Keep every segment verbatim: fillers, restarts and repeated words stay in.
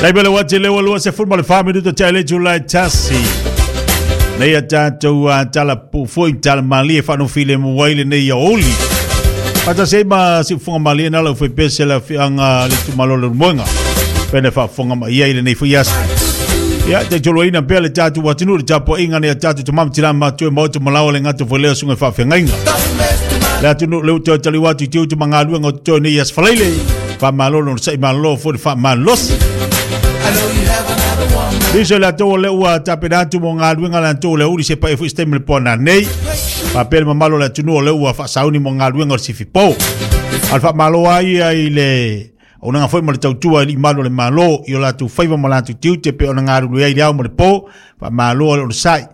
Lai bele wati lewa lua se fulma le wha minuto te ale July tasi. Nei a tātou a tala pufoi tala malie whanu file muaile nei a oli. Pata se ma si funga malie nala ufai pese la fianga le tumalo le rumoenga. Pene wha funga ma ia ile nei fui aso. Ia te tolo ina pea le tātou watinu le tāpo inga nei a tātou tumam tira mātua maotu malawa le ngato fo leo sunga wha whengainga. Le atunu le uto tali watu te utu mangaluenga o te nei as falaile. Wha malolo no sai malolo fo le wha malosi. Liso le atoa le ua tapenatu mo ngā luenga le atoa le uri se pa e fu istemi le pona nei. Papele mamalo le atunua le ua whaasauni mo ngā luenga o le sifipo. Alfa malo ai ai le o nanga foi mo le tautua i malo le malo i o latu faiva mo latu tiute pe o nanga aru ai le au mo le po. Fa malo le o le sai.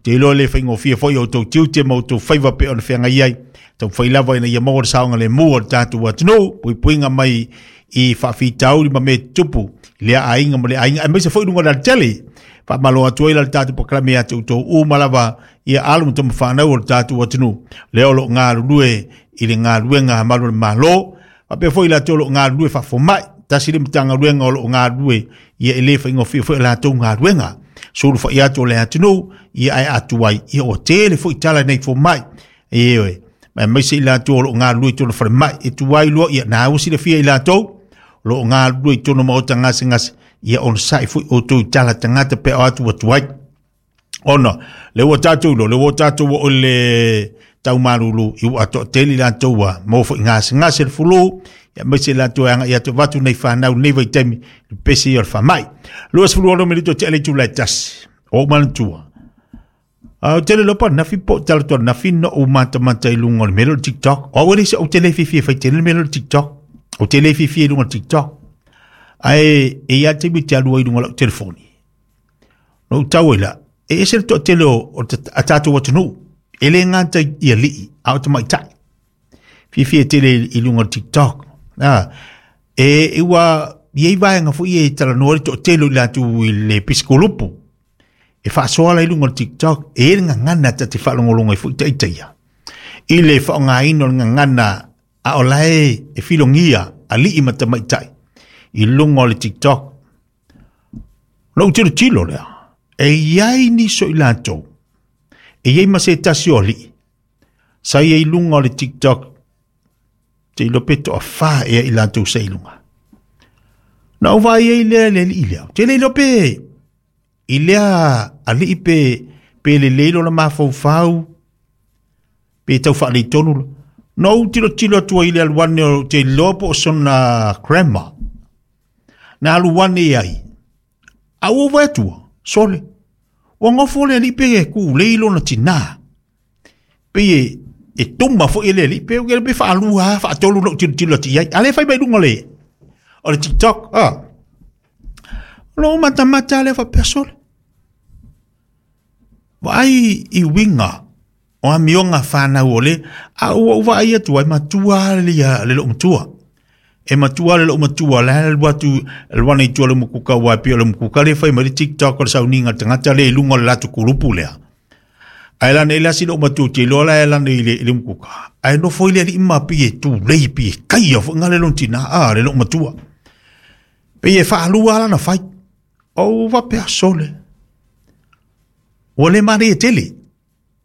Te iloa le whaingofia foi o tau tiute mo tau faiva pe o le whenga iai. Tau whailava ina ia maua le saonga le mua o le tātou atunuu. Puipuinga mai i whaafitauri ma me tupu. Lea ainga mo le ainga e meise foi lunga la tele fa malo atu ai la tatu paklame atu to u malava ia alu mo tomo whanau o le tātou atunuu le olo ngā lue i le ngā luenga malo le malo fa pe foi la tolo ngā lue fa fomai tasi le mtanga luenga o lo ngā lue ia ele fa ingo fi foi la to ngā luenga sulu fa ia to le atunuu ia ai atu ai ia o tele foi tala nei fomai e oe ma meise la tolo ngā lue tolo fa mai e tu ai lo ia na usi le fia i la to lo ngā lue tono maota ngase ngase ia on sai fui o tō tala tangata pe o atu atu ai. Ona, le ua tātou lo, le ua tātou o le taumarulu i ua ato teli la tōa mō fo i ngase ngase le fulu ia meise la tō anga ia tō vatu nei whanau nei vai temi le pese i o le whamai. Lua sefulu ono minuto te ele tūlai tasi o malantua. Uh, tele lopa nafi po tala toa nafi no o mata mata i lunga o le melo TikTok. O wale se o tele fifi e fai tele melo TikTok. O tele fifi e lunga TikTok. Ae e ia te mi te alua i lunga lau telefoni. No tau ila, e ese le toa tele o a tātou atunuu. E le ngata i a lii, a o te maitai. Fifi e tele i lunga TikTok. Ah, e e ua i ei vaenga fo i e tala noa le toa tele i latu i le pisikolupu. E whaasoala i lunga TikTok, e e ngangana ta te whaalongolonga i fo i taitaia. I le whaongaino le ngangana a o lae e filongia a lii mata maitai i lunga o le TikTok. No tilo tilo lea. E iai ni so i lātou. E iai ma se tasi o lii. Sa ia i lunga o le TikTok. Te ilo peto a wha ea i lātou sa i lunga. Na o vai ei lea le lii lea. Te le ilo pe. I lea a lii pe, pe le leilo la mawhau pe tau whaalei tonu. No tilo tilo atua i le aluane o te lopo o sona grandma. Na aluane ai. A ua vai atua, sole. Ua ngofo le ali pe e ku leilo na tina. Pe e, e tuma fo i le ali pe o ke pe whaalua, whaatolu no tilo tilo ati ai. Ale whai mai lunga le. O le TikTok, ah. Lo mata mata le wha sole. Wa ai i winga. O a mionga whanau ole, a ua ua ai atu ai matua le ia le lo matua. E matua le lo matua, le le watu, le wana i tua le mukuka wai pio le mukuka le whai mari TikTok o le sauninga tangata le lunga le latu kurupu lea. Ai lana i lasi lo matua te lola e lana i le, le mukuka. Ai no foi le ima pi e tu lei pi e kai o nga le lontina a le lo matua. Pe e whaalua lana whai. O wapea sole. Ua le mare e tele.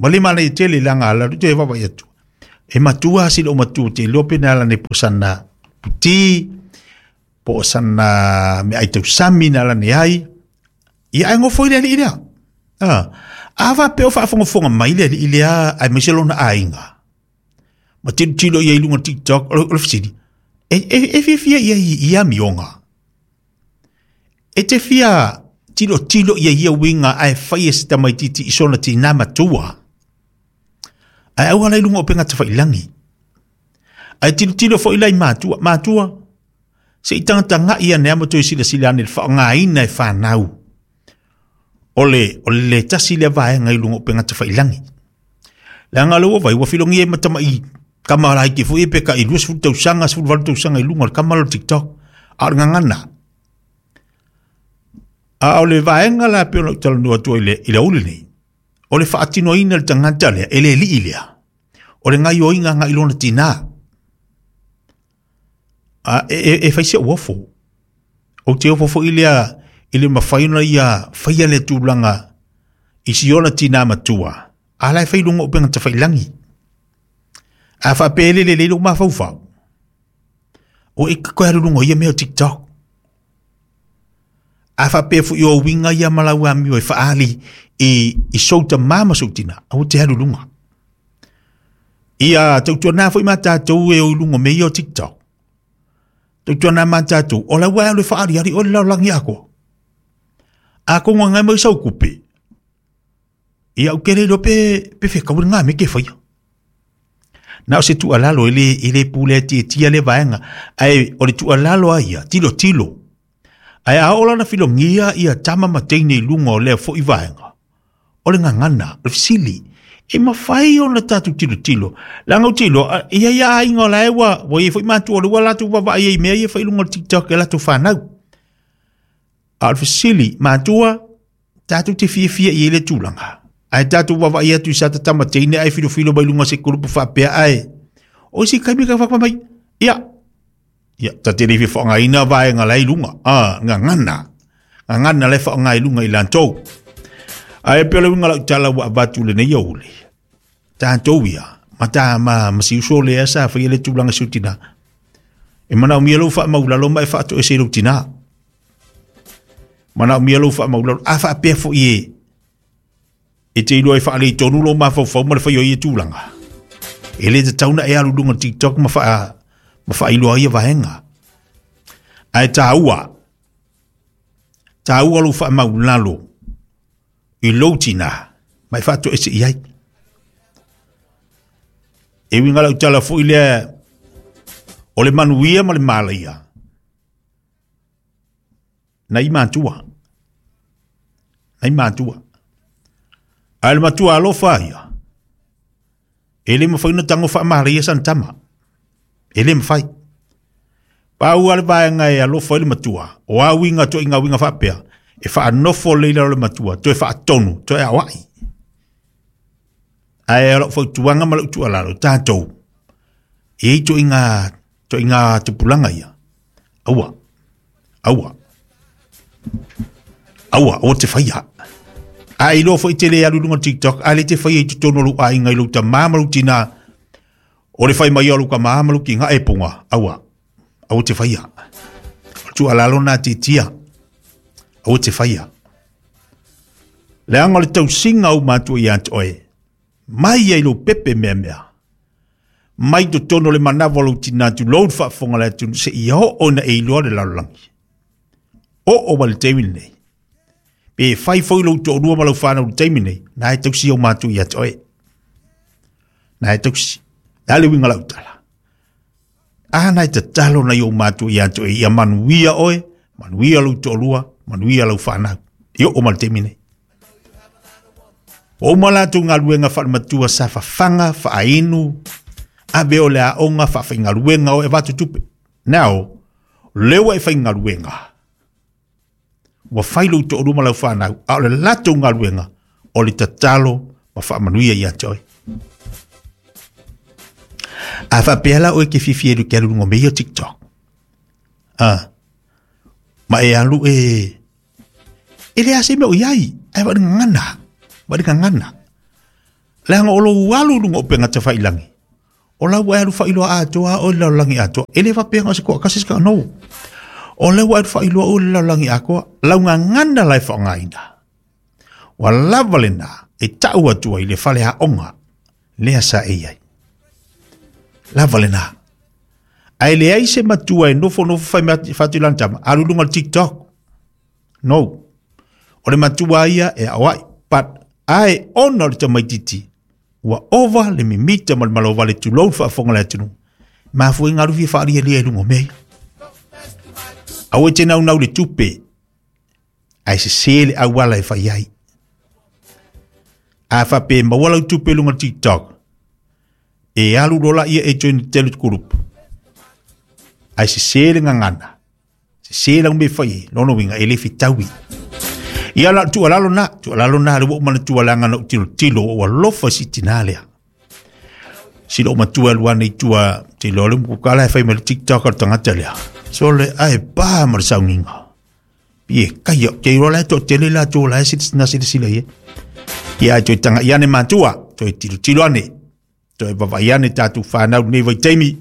Male male i tele langa ala te wawa i atu. E matua si lo matua te lope na ala ne posana puti, posana me ai tau sami na ala ne ai. Ia ai ngofo i lea li lea. Ah, awa pe o whaafongofonga mai lea li lea ai meise lona ainga. Ma tilo tilo ia i lunga TikTok, o le fisini. E, e, e fia fia ia ia mionga. E te fia tilo tilo ia ia winga ai whai e sita mai titi i sona tina matua. Ai au ala i lunga o penga te whailangi. Ai tilo tilo fo ilai mātua, mātua. Se i tangata ngā ia nea mo toi sila sila ane le whaongaina e whanau. Ole, ole le tasi le vae ngai lunga o penga te whailangi. Le anga lewa vai, wafilongi e matama i kamara i ke fo e peka i luas fulu tausanga, sefulu valu tausanga i lunga o le kamara o TikTok. A o le ngangana. A o le vaenga la pe ona talanoa atu i le, i le uli nei. O le whaatinoina le tangata lea, e le lii lea. O le ngai oinga ngai lona tina. A, e, e, e whaise uafo. O te ofo foi lea i le mawhai ona ia whaia le tūlanga i si ona tina matua. A lai whai lunga o penga te whailangi. A whapele le lelo ma whau. O e koe aru lunga ia mea o TikTok. A whapea fu i o winga ia malau a mio e whaali i, i souta mama soutina. A o te aru lunga. Ia tautua nā fo i mātātou e o lunga me ia o TikTok. Tautua nā mātātou. O la wā le whaali ari o le laulangi ako. A ko ngā ngai mai sau kupe. Ia o kere lo pe, pe wheka uri ngā me ke whaia. Nā o se tualalo ele, ele pule tia tia le vaenga. Ai o le tualalo a ia, tilo tilo. Ai a ola na filongia ia tama mateine i lunga o lea fo i vaenga. O le ngangana, o le fisili. E mawhai o na tātou tilo tilo. Langa o tilo, ia ia a inga o la ewa, wa ia fo i mātua o le wa lātou wawa ia i mea ia whai lunga o TikTok e lātou whanau. A o le fisili, mātua, tātou te fia fia i ele tūlanga. Ai tātou wawa ia tu sa tama teine ai filo filo mai lunga se kurupu whapea ai. O si kaimi ka whakamai. Ia. Ia, ta te rewi whaangaina vaenga lai lunga. Ah, ngā ngana. Ngā ngana lai whaangai lunga i lantou. Ai pele winga lau tala wa avatu le nei ole. Tātou ia. Mata ma masi uso le asa whai ele tūlanga sutina. E mana o mia lau wha maulalo ma e whaato e se lau tina. Mana o mia lau wha maulalo. A whaapea fo i e. E te iloa e whaalei tonu lo mawhauwhau ma le whai o ia tūlanga. E le te tauna e alu lunga TikTok ma wha, ma wha iloa ia vaenga. Ai tāua. Tāua lo wha maulalo. I lou tina. Mai whaato e se iai. E winga lau tala fo i lea o le manuia ma le malaia. Na i mātua. Na i mātua. A le matua alofa ia. E le mawhai na tango wha maria san tama. E le mawhai. Pau ale vaenga e alofa i le matua. O a winga to inga winga whapea. E wha anofo leila o le matua. Toe wha atonu. Toe awai. Ae alo whautuanga ma lau tualalo. Tātou. E to inga, to inga tupulanga ia. Aua. Aua. Aua. O te whaia. A i loa foi te le alu lunga TikTok, a le te whai e te tono lu a inga i lau ta māmalu tina, o le whai mai alu ka māmalu ki ngā e punga, aua, aua te whaia. Tu alalo nā te tia, aua te whaia. Le anga le tau singa au mātua i ante oe, mai ai lo pepe mea mea, mai to tono le manawa lau tina tu lou whaafonga le atu, se i ho ona e iloa le lalolagi. O o wale tewi nei. E whai fo ilo tō rua malau whanau le teimi nei, nā e tausi au mātu i atoe. Nā e tausi. Nā le winga lau tala. A nā e tatalo nei o mātu i atoe. Ia manuia oe, manuia lau tō rua, manuia lau whanau. I o o malu teimi nei. O malatu ngā luenga whalematua sa whawhanga, whaainu, a veo le a onga whawhainga luenga o e watu tupe. Now, lewa e whainga luenga. Wa whailu tō ruma lau whanau, a o le lato ngā luenga, o le tatalo ma whaamanuia i atoe. A whapea oe ke whiwhi e ke alu lunga me ia TikTok. Ah. Ma e alu e... E le ase mea o iai, ai wari ngana. Wari ngana. Leanga o lo alu lunga o penga te whailangi. O lau e alu whailoa atoa, o lau langi atoa. E le whapea ngā se koa kasi ska no. O lau e alu whailoa o lau langi atoa, lau ngana lai whaongaina. Wa lava le nā, e tau atua i le whale haonga, lea sa e iai. Lava le nā. Ai le ai se matua e nofo nofo whai whatu lantama, alu lunga TikTok. No. O le matua ia e awai, but ai ona le tamaititi, ua ova le mimita ma le malova le tulou whaafonga le atunu. Mafu e ngaru fia whaaria lia e lungo mea. Awe te nau nau le tupe, ai se se le awala e whai ai. A whape mawala u tupe lunga TikTok, e alu lola ia e join telu group. Ai se se le ngangana, se se la umbe whai, lono winga e le fitawi. Ia la tu alalo na, tu alalo na le wo mana tu alanga no tilo tilo o alofa si tinalea. Si lo matua luana i tua tilo le mukala e whai me TikTok al tangata lea. So le ai pa ma le saunginga. Ie kai o te rola to tele la to la se na se se le ia. Ia toe tanga ia ne matua, toe tilo tilo ane. Toe vavai ane tātou whanau nei vai teimi.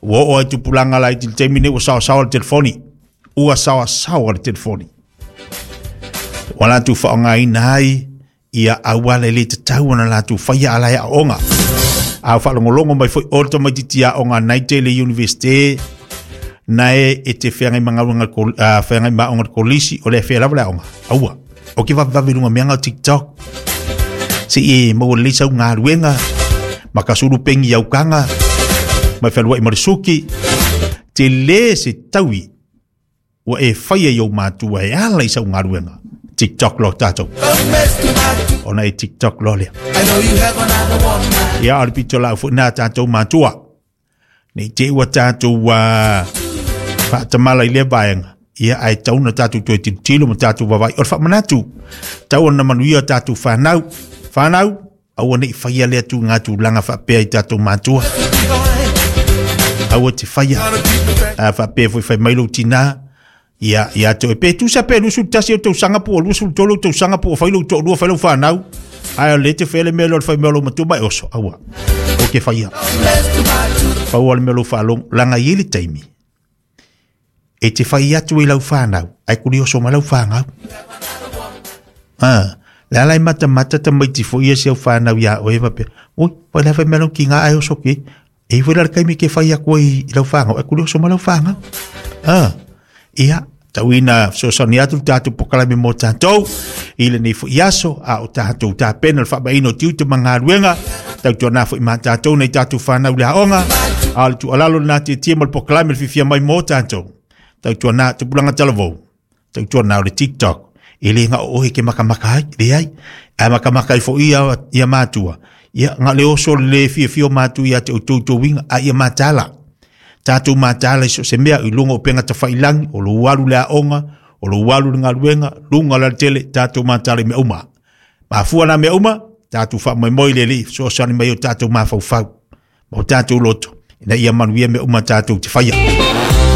Ua o ai tupulanga lai til teimi nei ua sawa sawa le telefoni. Ua sawa sawa le telefoni. Ua lātou whaongaina ai ia auala le te tau ana lātou whaia ala ia onga. A whaalongolongo mai foi o te maititi a onga nei te le universite nae e te whangai mangaunga uh, whangai maonga kolisi o le whea lava le onga. Aua. O ke wawawe lunga meanga o TikTok. Se e maua le sau ngā ruenga. Makasuru pengi au kanga. Mai whalua i marisuki. Te le se taui. Ua e whaia i au mātua e ala i sau ngā ruenga. TikTok lo tātou. Ona e TikTok lo lea. Ia o le pito lau fo nā tātou mātua. Nei te ua tātou uh, whaatamala i le vaenga. Ia ai tauna tātou toe tilotilo ma tātou wawai. O le whaamanatu. Tau ona manuia tātou whanau. Whanau, aua nei whaia lea tu ngā tūlanga whaapea i tātou mātua. Aua te whaia. A whaapea fo i whai mailo tina. Ia, ia te pe tu sa pe lusu tasi o tau sanga po lusu tolu tau sanga po whai lo to lua whai lo whanau. Ai o le te whele mea lo whai mea lo matua mai oso. Aua. O ke whaia. Whaua le mea lo whalong. Langa i le taimi. E te whai atu i lau whanau. Ai kuri oso ma lau whanau. Ah. Le alai mata mata ta mai tifo ia se au whanau ia oe wape. Oi, whai la whai mea lo ki ngā ai oso ke. E whai la kaimi ke whai ako i lau whanau. Ai kuri oso ma lau whanau. Ah. Ia, tauina sosani atu tātou pokalame mō tātou, i le nei fo iaso, a o tātou tā pena le whaamaino tiu te mangaruenga, tau tua nā fo i mā tātou nei tātou whanau le haonga, a le tualalo nā te tia ma le pokalame le whiwhia mai mō tātou, tau tua nā te pulanga talavou, tau tua nā o le TikTok, e le ngā ohe ke makamaka ai, le ai, a makamaka ai fo ia, ia mātua, ia ngā le oso le whiwhia mātua ia te o tau winga, a ia mātala. Tātou mātāla i so se mea i lunga o penga ta whailangi, o lo walu le aonga, o lo walu le ngaluenga, lunga la tele, tātou mātāla i mea uma. Mafua nā mea uma, tātou wha mai moi le li, so sani mai o tātou māwhauwhau, ma o tātou loto, ina ia manuia mea uma tātou te whaia.